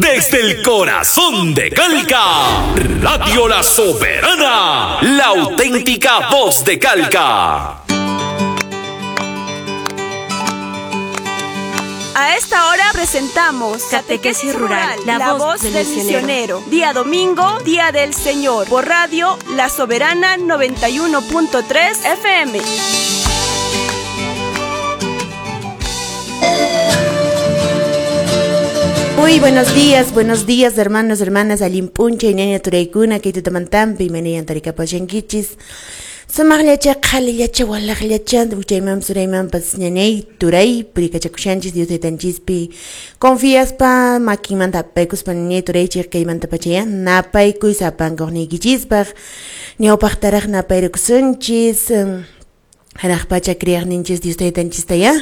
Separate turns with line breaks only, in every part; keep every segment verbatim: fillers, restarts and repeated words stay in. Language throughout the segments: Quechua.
Desde el corazón de Calca, Radio La Soberana, la auténtica voz de Calca.
A esta hora presentamos
Catequesis Rural, la, la voz, voz del, del misionero.
misionero. Día domingo, Día del Señor, por Radio La Soberana noventa y uno punto tres F M.
Muy buenos días, buenos días hermanos, hermanas, alimpuncha, ñaña turaykuna, kay tutamantampi, imaynayan tarikapashankichis. Sumaqllacha, qhalillacha, walaqllacha, uchaymanpas suraymanpas ñañay turay, purikachakushanchis, Dios taytanchispi confiaspa, makinmanta apaykuspa ñañay turaychik kaymanta pachaya, napaykuy sapankuqniykichispaq, ñawpaqtaraq napayrukusunchis, hanaq pacha kriyaqninchis Dios taytanchistaya.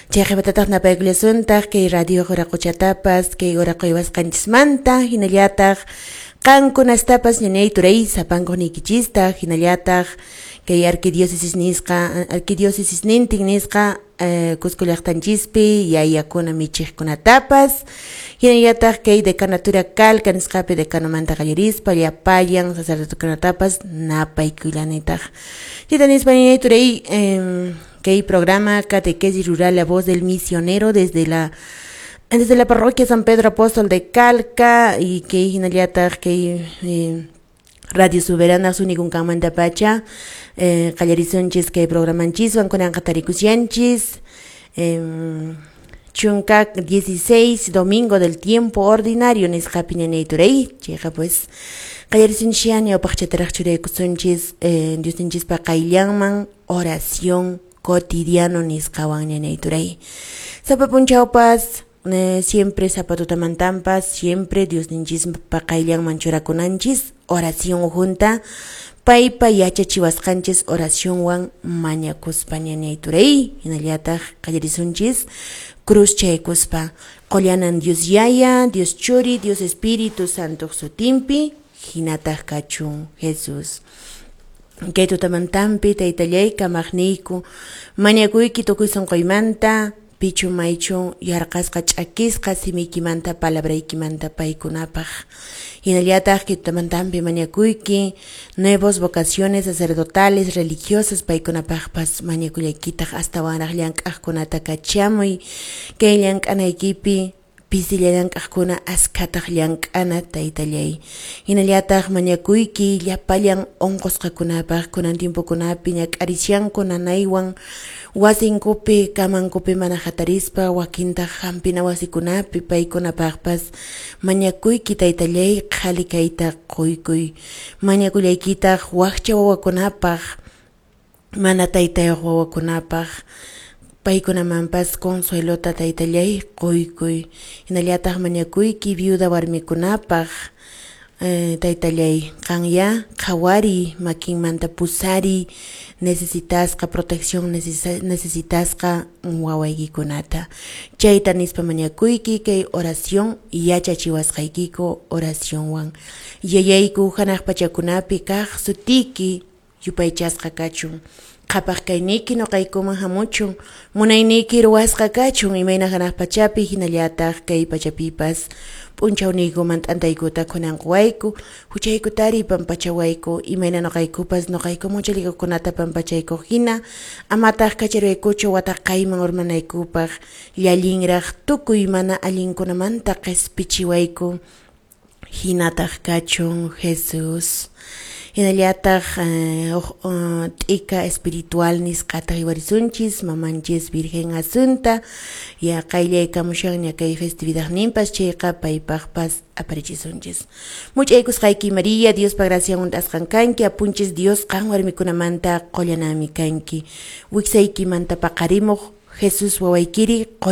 Chayqipatataq napaykullasuntaq kay radio Quraquchatapas, kay Quraquywasqanchismanta, hinallataq qankunastapas ñañay turay sapankuqniykichista, hinallataq kay arquidiócesis nisqa, arquidiócesis nintin nisqa eh, Cusco llaqtanchispi yayakuna michiqkunatapas, hinallataq kay decanatura Calca nisqapi decanomanta qallarispa llapallan sacerdotekunatapas napaykuylanitaq. Chayta nispa ñañay turay eh, kay programa Catequesis Rural, la voz del misionero desde la desde la parroquia San Pedro Apóstol de Calca y que hinallataq kay eh, Radio Soberana sunikunkanmanta pacha eh, qallarisunchis kay programanchiswan kunanqa tarikushanchis eh, chunka dieciséis domingo del tiempo ordinario nisqapi ñañay turay chayqa pues qallarisunchis ñawpaqchataraq churaykusunchis eh, Diosninchispa qayllanman oración cotidiano nisqawan ñañay turay sapa punchawpas eh, siempre zapatutamantampas siempre Diosninchispa qayllanman churakunanchis oración junta paypa yachachiwasqanchis oracionwan mañakuspa ñañay turay hinallataq qallarisunchis cruz chaykuspa qullanan Dios Yaya, Dios Churi, Dios Espíritu Santo sutinpi hinataq kachun Jesús. Kay tutamantampi taytallay kamaqniyku mañakuyki tukuy sunquymanta pichu maychu yarqasqa ch'akisqa simiykimanta palabraykimanta paykunapaq hinallataq kay tutamantampi mañakuyki nuevos vocaciones sacerdotales religiosas paykunapaqpas mañakullaykitaq astawanraq llank'aqkunata kachamuy kay llank'anaykipi pisilla llank'aqkuna askhataq llank'ana taytallay hinallataq mañakuyki llapallan unqusqakunapaq kunan tiempokunapi ñak'arishanku nanaywan wasinkupi kamankupi mana hatarispa wakintaq hampina wasikunapi paykunapaqpas mañakuyki taytallay qhali kayta quykuy mañakullaykitaq wakcha wawakunapaq mana taytayuq wawakunapaq paykunamanpas consuelota taytallay quykuy hinallataq mañakuyki viuda warmikunapaq eh, taytallay qanya qhawari makinmanta pusari necesitasqa protección necesitasqa wawaykikunata chayta nispa mañakuyki kay oración yachachiwasqaykiku oracionwan yayayku hanaq pachakunapi kaq sutiki yupaychasqa kachun qhapaq kayniyki nuqaykuman hamuchun munayniyki ruwasqa kachun imayna hanaq pachapi hinallataq kay pachapipas p'unchawniykuman t'antaykuta kunanquwayku huchaykutari pampachawayku imayna nuqaykupas nuqayku muchalikukunata pampachaykuq hina amataq kacharwaykuchu wataqayman urmanaykupaq llallinraq tukuy mana allinkunamanta qispichiwayku hinataq kachun Jesús. Hinallataq eh, uh, t'ika espiritual nisqata hiwarisunchis mamanchis Virgen Asunta ya qayllaykamushanña kay festividadninpas chayqa paypaqpas aparichisunchis. Much'aykusqayki María, Diospa gracian hunt'asqan kanki, apunchis Dios qan warmikunamanta qullanami kanki. Wiksaykimanta paqarimuq Jesús wawaykiri